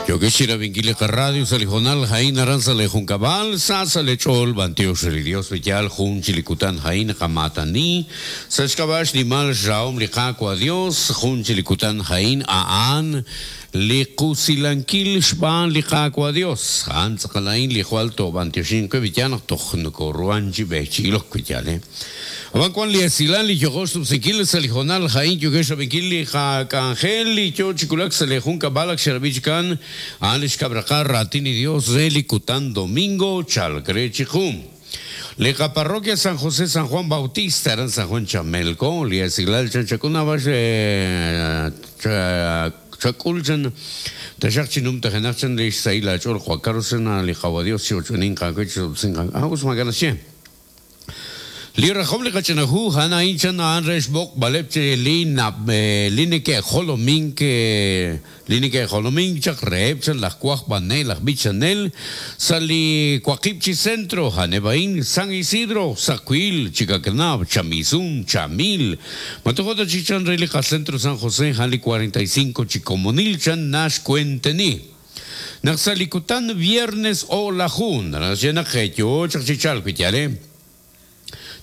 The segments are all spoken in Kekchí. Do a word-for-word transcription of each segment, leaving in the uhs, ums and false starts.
Yokesh rabinkili radio salijonal jain aran salejunkabal sa salechol bantiox el Dios vital jun chilikutan jain kamatani sashkabash nimal raom liqaqua Dios jun chilikutan jain aan liqusilankil xban liqaqua Dios han tzaqalain lijualto bantioshin kevitian tojnukoruanchi bechilok kvityale Aban kwan li esilan li yogosh tupsikil salijonal jain yokesh rabinkil li jakanjel li yo chikulak salejun kabalak xerabichkan Alex Cabracar, Ratini Dios, Relikutan Domingo, Chalcrechikum. Leja Parroquia San José San Juan Bautista, eran San Juan Chamelco, Lia Siglal Chanchacuna, Chaculchan, Tachachinum, Tajanachan, Lisaila, Chol, Juan Carlos, Lijabadios, Chochunin, Cacuch, Singan, Agus Maganachien. Li rajom li kachanahu hana inchan anresh bok balepche li na linike jolomink linike jolomink chak reb chan las cuaj banel las bichanel sali cuaqipchi centro hanebain San Isidro Sacuil Chicacnab Chamizun Chamil Matojota chichan relica centro San José Jali cuarenta y cinco Chicomonil chan nash cuenteni Naxalikutan viernes o la jun na jecho chachichal cuitiare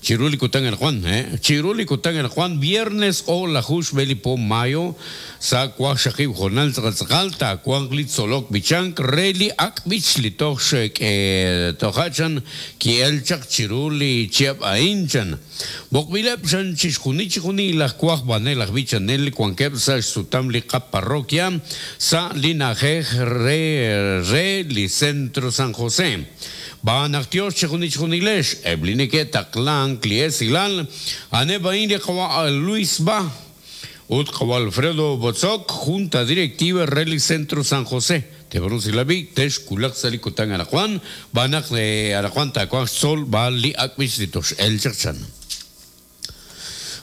Chiruli Kután el Juan, eh. Chiruli Kután el Juan, viernes o la Jush Belipo Mayo, sa Cuaj Shakib Jonal Tzalta, Cuan Solok Bichank, Reli Akbich Litoshek, Tohachan, Kielchak Chiruli Chiap Ainchan. Bokbilep Chan Chishjuni Chijuni, las Cuaj Banel, Bichanel, Cuanquepsa, Sutam Lica Parroquia, Sa Linaje Re Re Li Centro San José. Banaktios Chijuni Chijunilesh, Eblinike Taklan, Kliesilan, Anebain Luis Ba, Utkawa Alfredo Botzok, Junta Directiva Reli Centro San José. Tebrosilabi, Tesh Kulak Salikután Arajuan, Banak de Arajuan Tacuan Sol, Bali Akbich Litosh El Chachan.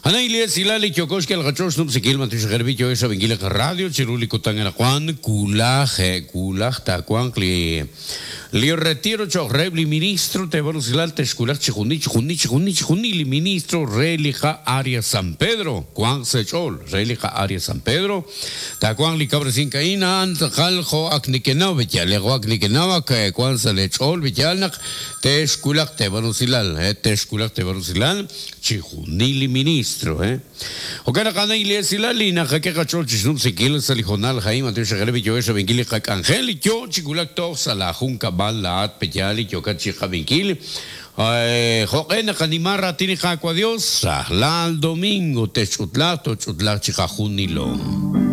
Ana Ilia Silali Kyokoshki al Gachosh Nupsikil Matish Gerbito esa Benguila Radio, Chiruli Kután Arajuan, Kulaj, Kulaj Tacuan, Kli. Li retiro chorrebli ministro te valusilal tescular chijuni chijuni chijuni chijuni li ministro relija área San Pedro Juan Sechol relija área San Pedro ta Juan li cabra sin caína antaljo aknikenao betialego aknikenao que Juan Salechol betialnak tesculak te valusilal eh tesculak te valusilal chijuni li ministro eh Okana kana ilesilali na jaque chol chisnum sikil salijonal jaim antes gerbi yo eso benguili angel yo chikulak to salajunka balat peyali yokachi jabinkil joqena kanimara tini jacua Dios al domingo techutla tochutla chijajunilo.